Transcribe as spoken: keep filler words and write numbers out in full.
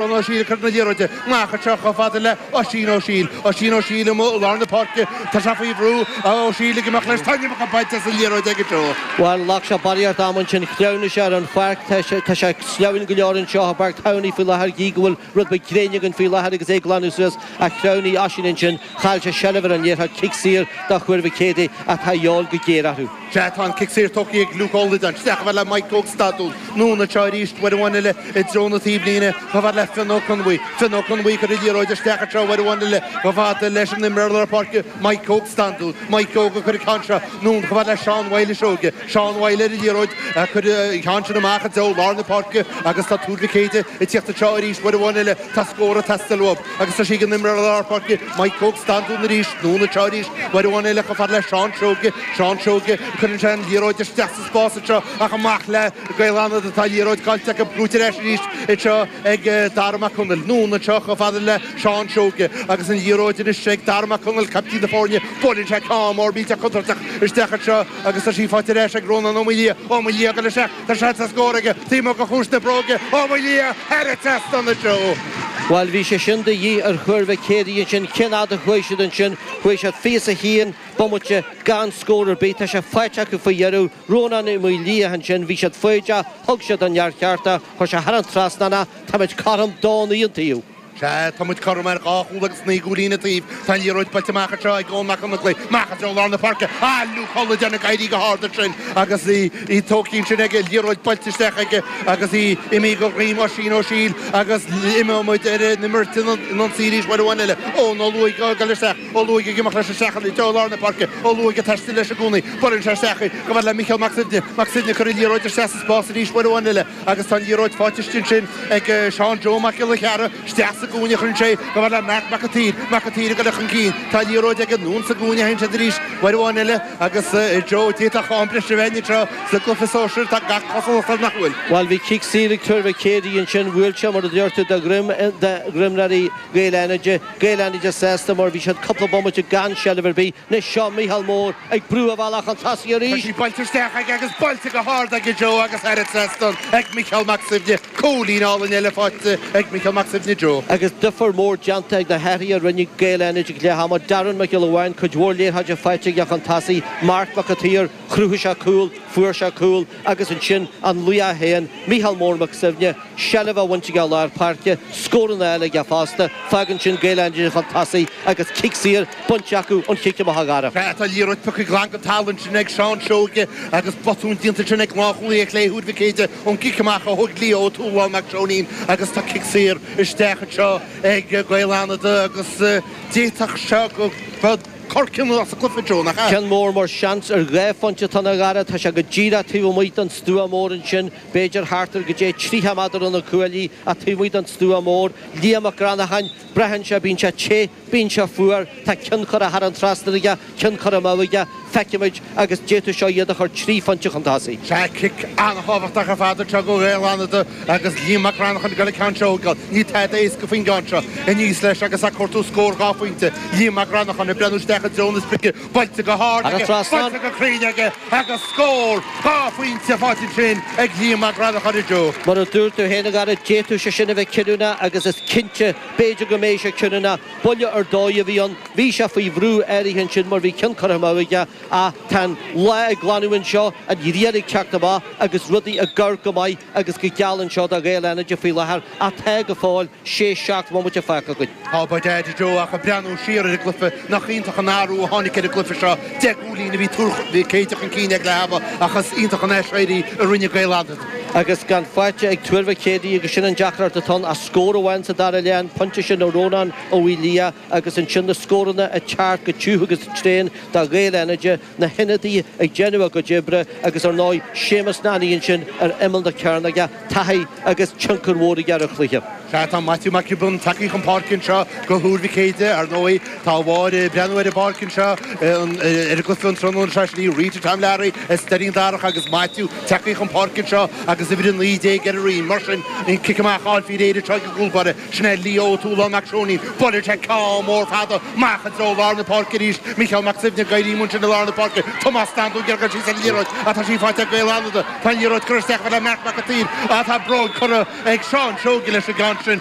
Ó Siail ag cur na liathróide amach anseo chomh fada le Oisín Ó Siail. Oisín Ó Siail amuigh i lár na páirce. Tá sé faoi bhrú. Ó Siail ag imeacht leis. Tá an iomarca bainte as an liathróid aige Joe. Bhuel, ghlac sé barraíocht ama ansin. Shleamhnaigh sé ar an pháirc. Tá sé tá sé sleamhain go leor anseo i bPáirc Thamhnaigh faoi láthair. Gí go bhfuil rud beag gréine againn faoi láthair agus é ag glanadh suas. Ach shleamhnaigh Oisín ansin. Chaill sé seilbh ar an liathróid. Cic saor do Thuar Mhic Éadaigh ach tá a dhíobháil go géar orthu. Sea, tá an cic saor tógtha ag Luke Ó Loideáin. Isteach chomh fada le Mike Óg Standún. Anonn anseo arís, uair amháin eile i dtreo na taobhlíne, chomh fada le Fionn Ó Conbhuí. Fionn Ó Conbhuí ag cur an liathróid isteach anseo uair amháin eile chomh fada leis an imreoir lár páirce, Mike Óg Standún. Mike Óg ag cur an ceann seo anonn chomh fada le Seán Mhaoile Seoige. Seán Mhaoile ar an liathróid ag cur an ceann sin amach i dtreo lár na páirce agus tá Tuar Mhic Éadaigh ag tíocht anseo arís uair amháin eile. Tá scór ag teastáil uathu agus tá sí ag an imreoir lár páirce, Mike Óg Standún arís. Anonn anseo arís uair amháin eile chomh fada le Seán Seoige. Seán Seoige, cuireann sé an liathróid isteach sa spás anseo ach amach le Gaeil Fhánada tá an liathróid caillte acu, buaite ar ais arís anseo ag Dara Mac Conaill. Anonn anseo chomh fada le Seán Seoige agus an liathróid anois ag Dara Mac Conaill, caiptín na foirne. Buaileann sé ceann mór millteach contúirteach isteach anseo agus tá sí faighte ar ais ag Rónán Ó Maoildhia. Ó Maoildhia ag dul isteach, tá seans ar scór aige taobh amuigh de chuas na bróige. Ó Maoildhia thar an trasnán anseo. Bhuel, bhí sé sin de dhíth ar Thuar Mhic Éadaigh ansin. Cén fhad a chuaigh siad ansin? Chuaigh siad fiche is a haon bomaite gan scór ar bith. Tá sé faighte acu faoi dheireadh. Rónán Ó Maoildhia ansin, bhí siad foighdeach, thug siad an neart cheart é, chuir sé thar an trasnán é. Táimid cothrom dó naoi an taobh. Sea, tá muid cothrom ar dhá chúl agus naoi gcúilín an taobh. Tá an liathróid buailte amach anseo ag Eoin Mac Fhionnlaoich. Amach i dtreo lár na páirce. Ah, Luke Ó Loideáin ag éirí go hard ansin agus í í tógtha ansin aige, liathróid buailte isteach aige agus í imithe go dhroim Oisín Ó Siail agus imeoidh muid ar an imirt in ionsaí arís uair amháin eile. Eoin Ó Lúaigh ag dul isteach. Ó Lúaigh ag imeacht leis isteach i dtreo lár na páirce. Ó Lúaigh ag taisteal leis i gcónaí. Buaileann sé isteach í chomh fada le Micheál Mac Suibhne. Mac Suibhne ag cur an liathróid isteach sa spás arís uair amháin eile agus tá an liathróid faighte istigh ansin ag Seán Joe Mac Giolla Chearra. Isteach sa gcúinne a chuireann sé chomh fada le Marc Mac an tSaoir. Mac an tSaoir ag dul chun cinn. Tá an liathróid aige anonn sa gcúinne a théann siad arís uair amháin eile agus Joe, d'fhéadfadh am breise a bheith anseo sa gcluiche sóisir. Tá gach cosúlacht air nach bhfuil. Bhuel, bhí cic saor ag Tuar Mhic Éadaigh ansin. Bhuail sé, mar a deir tú, de dhroim d'imreoirí Ghaeil Fhánaide. Gaeil Fhánaide sásta mar bhí siad cúpla bomaite gan seilbh ar bith. Anois seo Mícheál Mór ag brú a bhealach chun tosaigh Tá arís. sí buailte isteach aige agus buailte go hard aige Joe agus thar an trasnán ag Micheál Mac Suibhne. Cúilín álainn eile faighte ag Micheál Mac Suibhne Joe. Agus difear mór déanta ag na hathruithe a rinne Gaeil Fhánaide ag leath ama. Darren Mac Giolla Bháin, cuid mhór liathróide faighte aige chun tosaigh. Marc Mac an tSaoir, chruthaigh sé cúl, fuair sé cúl agus ansin an laoch féin, Mícheál Mór Mac Suibhne, seilbh á bhaint aige i lár páirce, scóranna eile aige fosta. Fágann sin Gaeil Fhánaide chun tosaigh agus cic saor bainte acu ón chic amach a Dhara. Sea, tá liathróid pioctha glan den talamh ansin ag Seán Seoige agus botún déanta ansin ag lánchúlaí ar chlé Thuar Mhic Éadaigh ón gcic amach a thóg Leo Ó Tuathaláin Mac Seoinín agus tá cic saor isteach anseo ag Gaeil Fhánada agus d'fhéadfadh seo go bheadh cor cinniúnach sa gcluiche, Joe, nach ea? Ceann mór mar seans ar dhá phointe atá ann a Dhara. Tá sé go díreach taobh amuigh den stua mór ansin, b'fhéidir thart ar goidé tríocha méadar ó na cuaillí ach taobh amuigh den stua mór. Liam Mac Granacháin, braitheann sé, bíonn sé te, bíonn sé fuar, tá ceann curtha thar an trasnán aige, ceann curtha amú aige, feicfimid agus d'fhéadfadh seo iad a chur trí phointe chun tosaigh. Sea, cic an-thábhachtach ar fad anseo do Ghaeil Fhánada agus Liam Mac Granacháin ag dul an ceann seo a thógáil. Níl tada éasca faoin gceann seo. Aníos leis agus ag cuartú scór dhá phointe. Liam Mac Granacháin ag breathnú isteach i dtreo na sprice. Buailte go hard Thar an aige, trasnán. buailte go cruinn aige agus scór dhá phointe faighte ansin ag Liam Mac Granacháin a Joe. Mar a dúirt tú féin a Dhara, d'fhéadfadh sé sin a bheith cinniúnach agus is cinnte, b'fhéidir go mbeidh sé cinniúnach. Buille ar dóigh a bhí ann. Bhí sé faoi bhrú áirithe ansin mar bhí ceann curtha amú aige ach tá an lá ag glanadh anseo, an ghrian ag teacht amach agus rudaí ag amharc go maith agus go geal anseo do Ghaeil Fhánaide faoi láthair ach tá go fóill sé, seacht mbomaite fágtha againn. Tá by dad a Joe ach ag breathnú siar ar an gcluiche, nach iontach an athrú a tháinig ar an gcluiche seo. Deich gcúilín a bhí Tuar Mhic Éadaigh chun cinn ag leath ama ach is iontach an aiséirí a rinne Gaeil Fhánada. Agus gan faighte ag Tuar Mhic Éadaigh agus sin an deacracht atá ann ach scór amháin sa dara leath, an pointe sin ó Rónán Ó Maoildhia agus ansin na scóranna ag teacht go tiubh agus tréan do Ghaeil Fhánaide, na hionadaithe ag déanamh a gcuid oibre agus ar ndóigh Séamus Nanny ansin ar imeall na cearnóige, taithí agus tionchar mhór aige ar an chluiche. Sea, tá Maitiú Mac Giobúin tagtha chun páirce anseo do Thuar Mhic Éadaigh. Ar ndóigh, tá a mháthair ag breathnú ar an bpáirc anseo ar an gcluiche an tráthnóna seo, sin í Rita Tom Learaí as Doirín Darach agus Maitiú tagtha chun páirce anseo agus uimhir a naoi déag ar a rinn. Mar sin, an cic amach á fháil faoi réir anseo ag an gcúl báire. Sin é Leo Ó Tuathaláin Mac Seoinín. Buaileann sé ceann mór fada amach i dtreo lár na páirce arís. Micheál Mac Suibhne ag éirí ansin i lár na páirce. Tomás Standún ag iarraidh dul síos ar an liathróid ach tá sí faighte ag Gaeil Fhánada. Tá an liathróid curtha isteach le Marc Mac an tSaoir ach tá bróg curtha ag Seán Seoige leis an gceann sin.